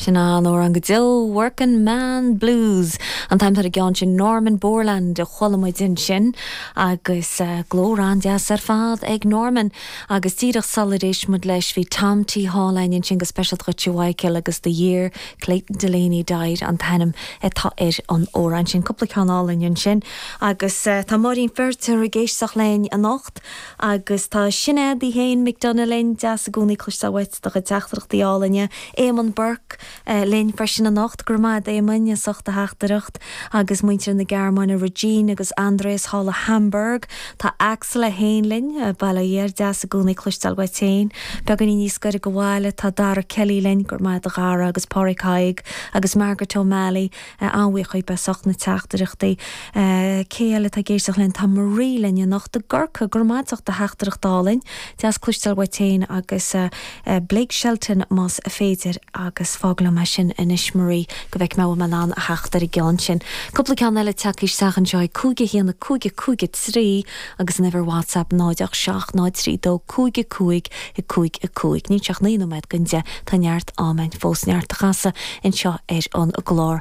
Sin an-amhrán go deo, Working Man Blues an t-ainm atá ar an gceann sin, Norman Borland a chuala muid ansin agus glór an-deas ar fad ag Norman. Agus díreach sular éist muid leis bhí Tom T Hall againn ansin go speisialta dhuit a Mhichael agus The Year Clayton Delaney Died an t-ainm atá ar an amhrán sin. Cúpla ceann álainn ansin. Agus tá Máirín Feirtéar ag éisteacht linn anocht agus tá Sinéad í féin McDonagh linn, deas i gcónaí cloisteáil uait do chuid teachtaireachtaí álainne. Éamonn Burke linn freisin anocht, go raibh maith agat Éamoinn as ucht do theachtaireacht. Agus muintir na Gearmáine, Regine agus Andreas thall i Hamburg. Tá Axel é féin linn, bail ó Dhia air, deas i gcónaí cloisteáil uait féin. Beagáinín níos gaire go bhaile tá Dara Kelly linn, go raibh maith agat a Dhara, agus Pádraig Thaidhg agus Margaret O'Malley. An-bhuíoch dhíbh as ucht na teachtaireachtaí. Cé eile atá ag éisteacht linn? Tá Marie linn anocht i gCorcaigh. Go raibh maith agat as ucht do theachtaireacht álainn. Deas cloisteáil uait féin agus Blake Shelton más féidir agus fág liom é sin anois Marie go bhfeicfidh mé an bhfuil mé in ann a theacht ar an gceann sin. Cúpla ceann eile tagtha isteach anseo ag 5 1 5 5 3 agus an uimhir WhatsApp 0 8 7 0 3 2 5 5 5 5. Níl sé ach 9 nóiméad don 10, tá neart ama againn fós, neart a chasadh anseo ar an gclár.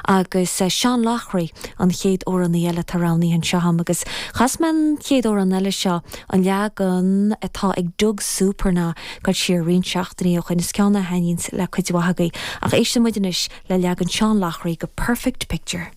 Agus Seán Loughrey an chéad amhránaí eile atá roghnaithe anseo agam agus chas mé an chéad amhrán eile seo, an leagan atá ag Doug Supernaw, ag dul siar roinnt seachtainí ó shoin. Is ceann é a thaitníonns le cuid mhaith agaibh. Ach éisteann muid anois le leagan Seán Loughrey go Perfect Picture.